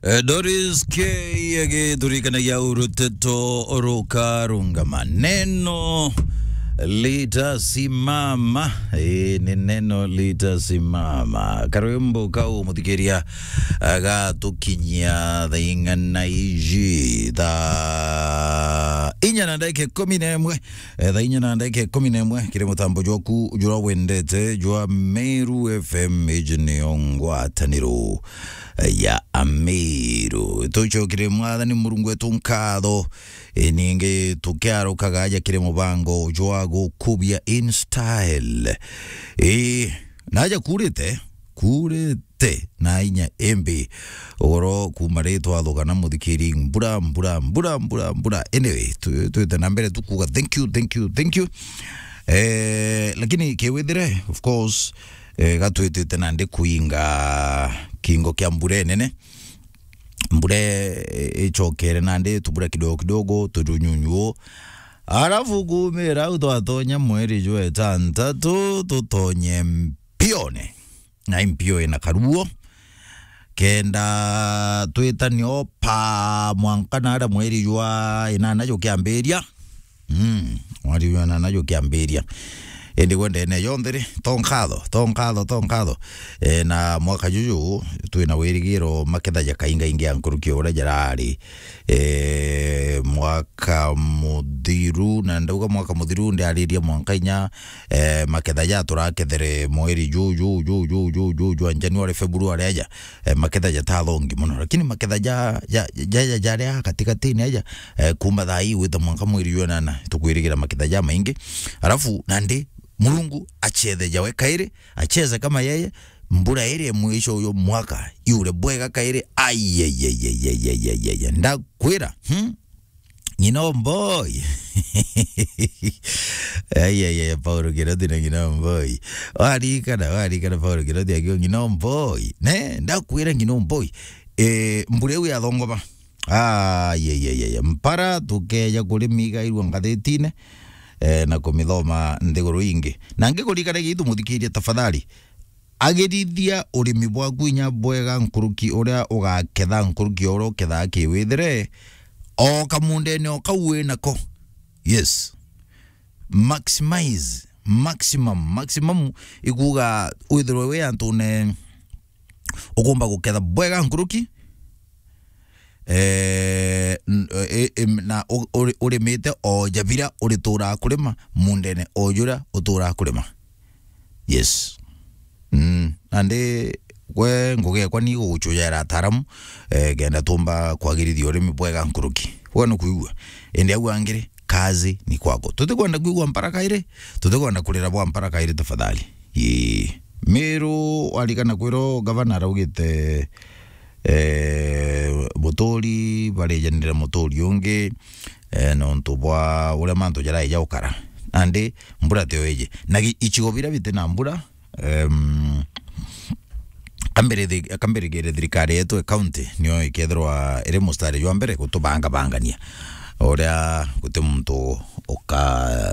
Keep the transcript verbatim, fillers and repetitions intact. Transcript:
Eh, Doris K agithurikanagia uruteto rukarungama. Neno litasimama. Eh, ni neno litasimama. Karwimbo kau muthikiria agatukinyia thaa ing'ana iji. Thaa inya na ndagika ikumi na imwe. Eh, thaa inya na ndagika ikumi na imwe, kiri mutambo jwaku jura wendete jwa Meru F M, iji niyo ngwataniro ya Ameru. Tucokire Mwathani Murungu wetu nkatho, e, ningi tukiarukaga aja kiri mubango jwa gukubia in style. E, naja kurite, kurite. Te na inya imbi. Ugoro kuma ri twathugana muthikiri, mbura, mbura, mbura, mbura, mbura. Anyway, tu-, twite na mbere tukuga thank you, thank you, thank you. Eh, lakini kiwithire, of course, eh, gatwitite nandi kuinga kingo kia mbura enene. Mbura, eh, icokere nandi tubura kidogo kidogo, turunyunyu. Alafu kumira au twatonya mweri jwa itantatu, tutonye mpione. Na impio ina karuo. Kenda twitane o pa mwanka na aria mweri jwa inana jukiambiria. Mm, mweri jwa inana jukiambiria. Indi gwe ndene yonthe ri, to nkatho, to nkatho, to nkatho. E, na mwaka juju, twina wirigiro maketha jakaingaingi ya nkuruki o uria jarari. E, mwaka muthiru, na ndauga mwaka muthiru, ndiaririe mwanka inya, e, maketha ja turakethere mweri ju, ju, ju, jwa January, February aja, e, maketha jatathongi mono. Lakini maketha ja, ja, ja, ja, jaria katikatini aja, e, kuma thaa ii gwita mwanka mweri jwa nana, tukwirigira maketha ja maingi. Alafu, nandi, Murungu achethe jawe kairi, acheze kama yeye, mbura iri mwisho uyo mwaka, iure bwega kairi, ai, ai, ai, ndakwira, hmm? Ng'ina Omboi. Ai, ai, ai, Paulo Kiroti na Ng'ina Omboi. Warikana, warikana Paulo Kiroti akiuga Ng'ina Omboi. Ne, ndakwira Ng'ina Omboi. E, mbura iu yathongoba. Ai, ai, ai, ai, mpara tukeja kuri migairua ngathitine, e, na kumithoma nthiguru ingi. Na ngikurikana gitu muthikiria tafadhali. Agirithia urimi bwaku inya bwega nkuruki uria ugaketha nkuruki uria ukethaa kiwithire o kamundene o kau wi nako. Yes. Maximize, maximum, maximum ikuga withirwe wi antune ukumba guketha bwega nkuruki, eh, n-, e, e, na u-, uri-, urimite o jabira urituraa kurima mundene o juria uturaa kurima. Yes. Mm. Nandi gwe ngugi ekwa ni guguchujera ataaramu, eh, kenda tumba kwagirithia urimi bwega nkuruki. Gwe nukwigua? Indi au angiri, kazi ni kwako. Tutikwenda kwigua mpara kairi, tutikwenda kurira bwa mpara kairi tafadhali. Ii. Miru warikana kwirwo gavana araugite, eh, muturi barijanire muturi ungi, eh, nontu bwa uria mantu jaraija gukara. Nandi mbura tio iji. Na gi-, icigo biria biti na mbura, em, kambere thi-, kambere gere thirikari yetu e county nio ikethirwa iri mustari jwa mbere gutubangabangania. Uria guti muntu uka-